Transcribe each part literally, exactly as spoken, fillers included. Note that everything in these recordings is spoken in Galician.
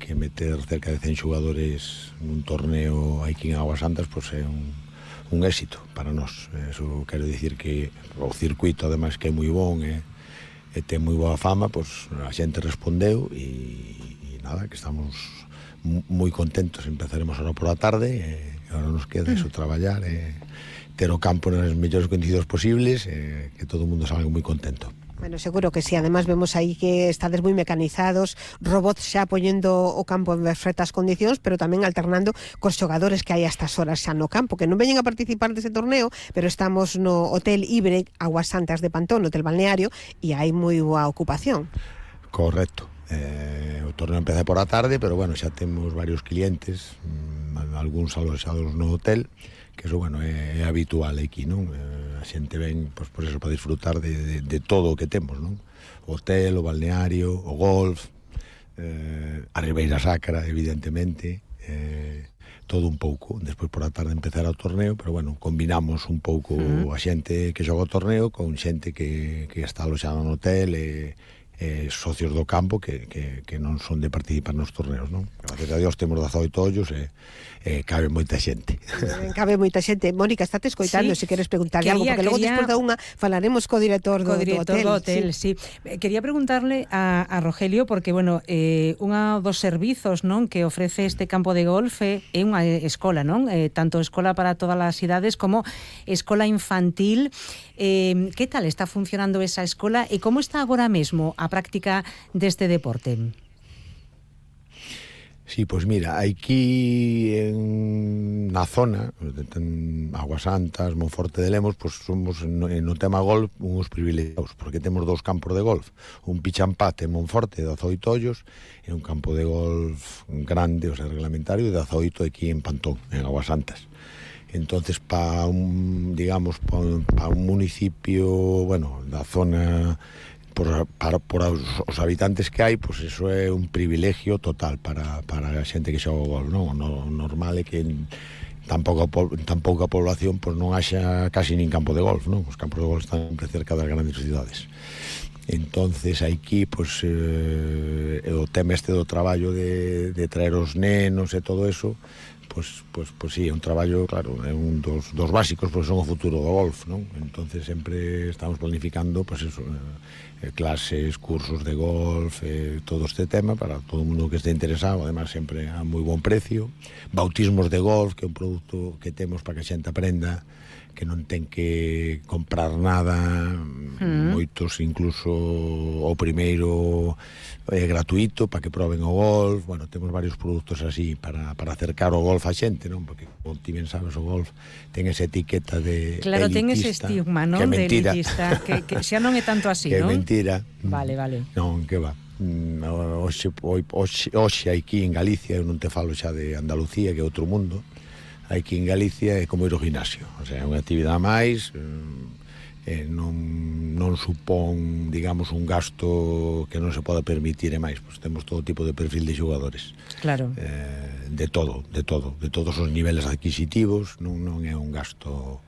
que meter cerca de cen xogadores nun torneo aquí en Augas Santas, pois é un, un éxito para nós. Eso quero dicir que o circuito, ademais, que é moi bon e, e ten moi boa fama, pois a xente respondeu e, e nada, que estamos moi contentos. Empezaremos ahora por a tarde e agora nos queda eso, traballar e ter o campo nas mellores condicións posibles e que todo o mundo salga moi contento. Bueno, seguro que sí. Además vemos aí que estades moi mecanizados, robots xa poñendo o campo en perfectas condicións, pero tamén alternando cos xogadores que hai a estas horas xa no campo, que non veñen a participar dese torneo, pero estamos no Hotel Ibre Augas Santas de Pantón, no Hotel Balneario, e hai moi boa ocupación. Correcto. Eh, o torneo empeza por a tarde, pero bueno, xa temos varios clientes, mmm, algúns aloxados no hotel, que eso, bueno, é, é habitual aquí, non? Eh, a xente ven, pois, por eso, para disfrutar de, de, de todo o que temos, non? O hotel, o balneario, o golf, eh, a Ribeira Sacra, evidentemente, eh, todo un pouco. Despois por a tarde empezar o torneo, pero bueno, combinamos un pouco uh-huh. a xente que xoga o torneo con xente que, que está aloxada no hotel e eh, socios do campo que, que, que non son de participar nos torneos, non? Gracias a Dios temos dezaoito ollos e eh, cabe moita xente. Cabe moita xente. Mónica, estate escoitando, sí. Se queres preguntarle quería, algo, porque logo quería... despois da unha falaremos co director do, co director do hotel. Do hotel sí. Sí. Quería preguntarle a, a Rogelio, porque, bueno, eh, unha dos servizos, non, que ofrece este campo de golf é unha escola, non? Eh, tanto escola para todas as idades como escola infantil. Eh, que tal está funcionando esa escola e como está agora mesmo a práctica deste deporte? Sí, pois pues mira, aquí en, na zona, en Augas Santas, Monforte de Lemos, pois pues somos no, no tema golf uns privilegiados, porque temos dous campos de golf, un Pichampate en Monforte de dezaoito ollos e un campo de golf grande, o sea, reglamentario, de dezaoito aquí en Pantón, en Augas Santas. Entonces, para un, digamos, para pa un municipio, bueno, da zona, por, para, por os, os habitantes que hai, pois pues eso é un privilegio total para, para a xente que xoga o golf, non? O normal é que tan pouca, tan pouca población pois pues non haxa casi nin campo de golf, non? Os campos de golf están sempre cerca das grandes cidades. Entonces aquí, pois, pues, eh, o tema este do traballo de, de traer os nenos e todo eso, pois, pois, pois sí, é un traballo, claro, é un dos, dos básicos, pois son o futuro do golf, non? Entonces sempre estamos planificando, pois eso, eh, clases, cursos de golf, eh, todo este tema para todo o mundo que este interesado, además sempre a moi bon precio, bautismos de golf, que é un produto que temos para que a xente aprenda, que non ten que comprar nada, mm. moitos incluso o primeiro é gratuito para que proben o golf. Bueno, temos varios produtos así para, para acercar o golf a xente, non? Porque, como ti ben sabes, o golf ten esa etiqueta de claro, elitista. Ten ese estigma, non? Que é mentira. De elitista, que, que xa non é tanto así, que non? Que é mentira. Vale, vale. Non, que va. Oxe, oxe, oxe aquí en Galicia, eu non te falo xa de Andalucía, que é outro mundo. Aquí en Galicia é como ir ao gimnasio, o sea, é unha actividade máis, eh, non, non supón, digamos, un gasto que non se poda permitir e máis, pois temos todo tipo de perfil de xogadores. Claro. Eh, de todo, de todo, de todos os niveles adquisitivos, non, non é un gasto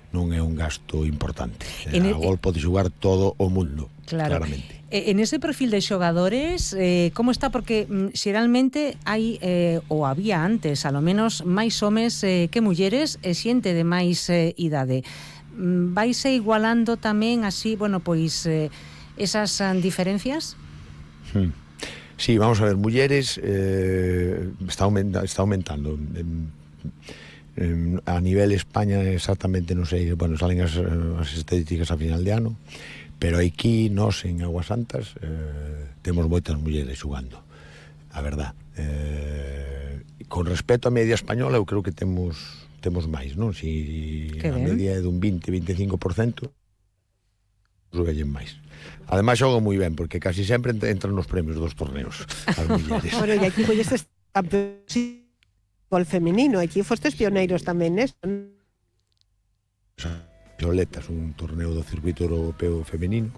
non é un gasto importante. En a gol pode xogar todo o mundo, claro. Claramente. En ese perfil de xogadores, eh, como está? Porque mm, xeralmente hai, eh, ou había antes, a lo menos, máis homes eh, que mulleres e xente de máis eh, idade. Mm, vaise igualando tamén así, bueno, pois, eh, esas uh, diferencias? Hmm. Sí, vamos a ver, mulleres eh, está, aumenta, está aumentando. Eh, eh, a nivel España exactamente non sei, bueno, salen as, as estadísticas a final de ano, pero aquí nós en Augas Santas eh, temos moitas mulleres xogando, a verdad. Eh, con respecto á media española, eu creo que temos temos máis, non? Si a media é dun vinte a veinticinco por cento, xoguen máis. Ademais xogan moi ben, porque casi sempre entran nos premios dos torneos as mulleres. Bueno, e aquí colles campeóns gol femenino, aquí fostes pioneiros tamén, né? Violetas, un torneo do circuito europeo femenino.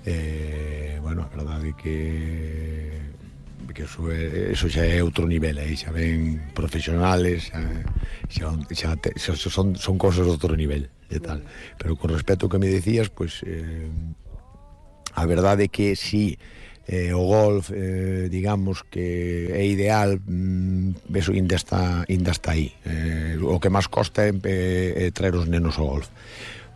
Eh, bueno, a verdade que que eso, é, eso xa é outro nivel, aí xa ven profesionales, xa, xa, xa, xa son, son cosas de outro nivel e tal. Pero con respecto ao que me decías, pues, eh, a verdade é que si eh, o golf, eh, digamos que é ideal, mm, eso ainda está, ainda está aí. Eh, o que máis costa é, é, é traer os nenos ao golf,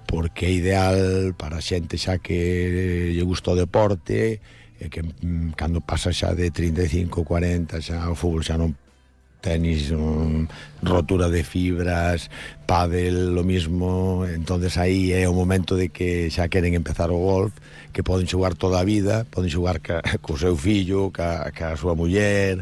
porque é ideal para a xente xa que lle gusta o deporte, e que mm, cando pasa xa de trinta e cinco, cuarenta, xa o fútbol xa non, tenis, um, rotura de fibras, pádel, lo mismo, entonces aí é o momento de que xa queren empezar o golf, que poden xogar toda a vida, poden xogar ca, co seu fillo, ca, ca súa muller,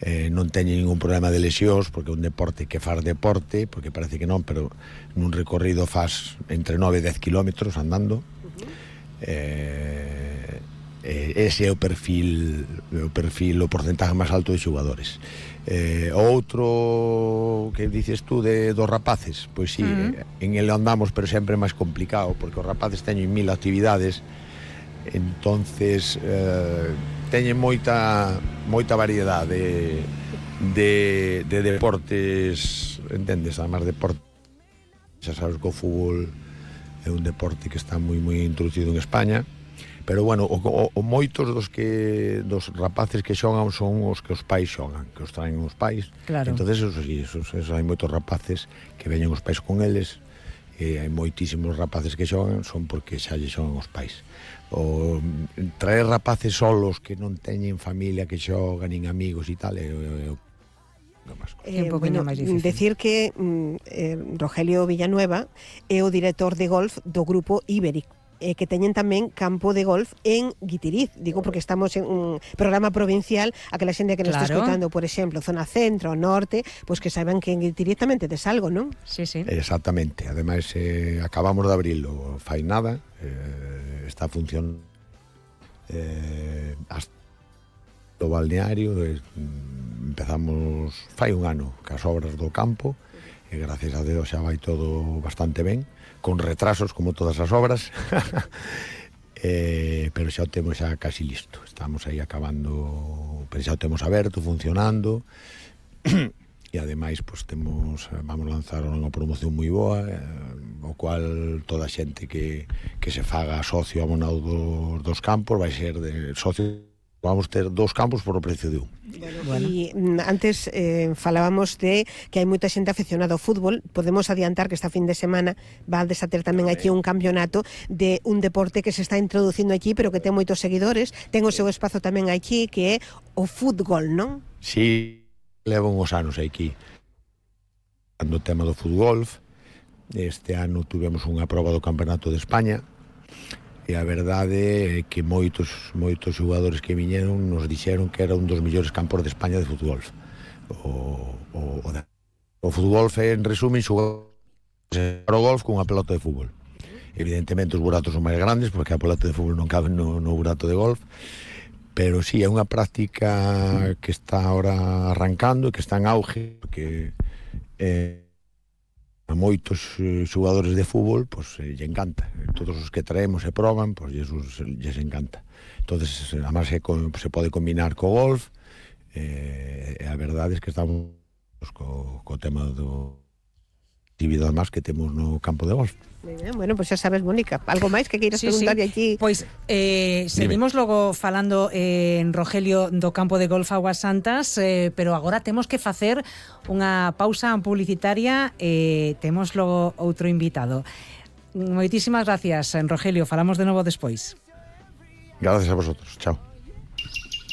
eh, non teñen ningún problema de lesións, porque é un deporte que faz deporte, porque parece que non, pero nun recorrido faz entre nove e dez kilómetros andando. Uh-huh. eh, eh, ese é o perfil, o perfil, o porcentaje máis alto de xogadores. Eh, outro que dices tú de dos rapaces, pois sí, uh-huh. eh, en ele andamos, pero sempre é máis complicado, porque os rapaces teñen mil actividades, entonces eh, teñen moita moita variedade de, de, de deportes, entendes, además deporte, xa sabes que o fútbol é un deporte que está moi moi introducido en España. Pero bueno, o, o, o moitos dos que dos rapaces que xogan son os que os pais xogan, que os traen os pais. Claro. Entonces, eso sí, eso, eso, hai moitos rapaces que veñen os pais con eles, e hai moitísimos rapaces que xogan son porque xa lle xogan os pais. O traer rapaces solos que non teñen familia que xogan, nin amigos e tal, é, é, é Eh, bueno, decir que eh, Rogelio Villanueva é o director de golf do grupo Iberic, eh, que teñen tamén campo de golf en Guitiriz, digo porque estamos en un programa provincial, aquela xente que nos claro. está escutando, por exemplo, zona centro, norte, pois pues que saiban que en Guitiriz tamén tedes algo, non? Sí, sí. Exactamente, ademais eh, acabamos de abrilo, fai nada, eh, está funcionando eh, hasta o balneario, eh, empezamos fai un ano cas obras do campo, e gracias a Deus xa vai todo bastante ben, con retrasos como todas as obras, eh, pero xa o temos xa casi listo, estamos aí acabando, pero xa o temos aberto, funcionando, e ademais pues, temos, vamos lanzar unha promoción moi boa, eh, o cual toda a xente que, que se faga socio abonado dos, dos campos vai ser de socio. Vamos ter dous campos por o precio de un. Bueno, e antes eh, falábamos de que hai moita xente aficionada ao fútbol. Podemos adiantar que esta fin de semana va a desater tamén aquí un campeonato de un deporte que se está introducindo aquí, pero que ten moitos seguidores. Ten o seu espazo tamén aquí, que é o fútbol, non? Sí, levo uns anos aquí cando o tema do fútbol. Este ano tuvemos unha proba do Campeonato de España, e a verdade é que moitos moitos xogadores que viñeron nos dixeron que era un dos mellores campos de España de fútbol. O, o, o, o fútbol é, en resumen, xogar o golf con unha pelota de fútbol. Evidentemente os buratos son máis grandes, porque a pelota de fútbol non cabe no, no burato de golf, pero sí, é unha práctica que está ahora arrancando e que está en auge, porque eh, a moitos eh, xogadores de fútbol pois pues, eh, lle encanta, todos os que traemos e proban, pois pues, lles, lles encanta. Entonces, además se, se pode combinar co golf, eh, e a verdade é que estamos co, co tema do actividade máis que temos no campo de golf. Bueno, pois pues xa sabes, Mónica, algo máis que queiras sí, preguntarlle sí. aquí? Pois pues, eh, seguimos Dime. logo falando eh, en Rogelio do campo de golf Aguas Santas, eh, pero agora temos que facer unha pausa publicitaria e eh, temos logo outro invitado. Moitísimas gracias, Rogelio, falamos de novo despois. Gracias a vosotros, chao.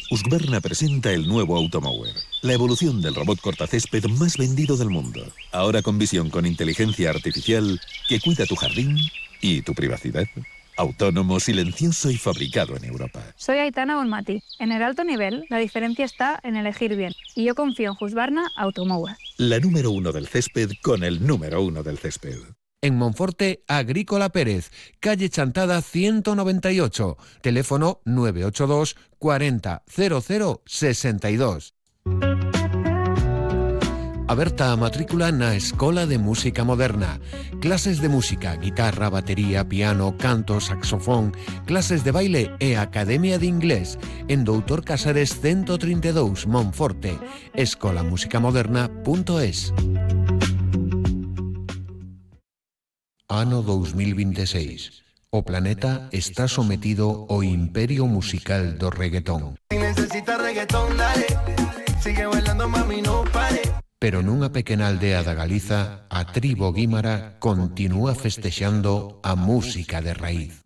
Husqvarna presenta el nuevo Automower, la evolución del robot cortacésped más vendido del mundo. Ahora con visión con inteligencia artificial que cuida tu jardín y tu privacidad. Autónomo, silencioso y fabricado en Europa. Soy Aitana Bonmati. En el alto nivel, la diferencia está en elegir bien. Y yo confío en Husqvarna Automower. La número uno del césped con el número uno del césped. En Monforte, Agrícola Pérez, calle Chantada ciento noventa y ocho, teléfono nueve ocho dos cuarenta cero cero sesenta y dos. Aberta a matrícula na Escola de Música Moderna. Clases de música, guitarra, batería, piano, canto, saxofón, clases de baile e academia de inglés en Doutor Casares ciento treinta e dous, Monforte. escola música moderna punto es. Ano dos mil vinte e seis. O planeta está sometido ao imperio musical do reggaetón. Si necesitas reggaetón, dale. Sigue bailando, mami, no pare. Pero nunha pequena aldea da Galiza, a tribo guímara continúa festexando a música de raíz.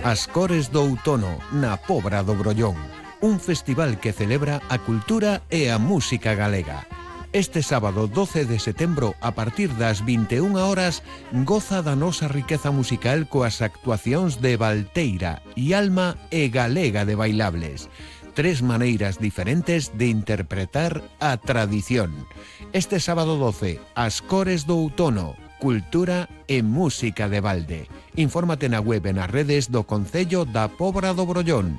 As cores do outono na Pobra do Brollón, un festival que celebra a cultura e a música galega. Este sábado doce de setembro, a partir das vinte e unha horas, goza da nosa riqueza musical coas actuacións de Valteira, Ialma e Galega de Bailables. Tres maneiras diferentes de interpretar a tradición. Este sábado doce, as cores do outono, cultura e música de balde. Infórmate na web e nas redes do Concello da Pobra do Brollón.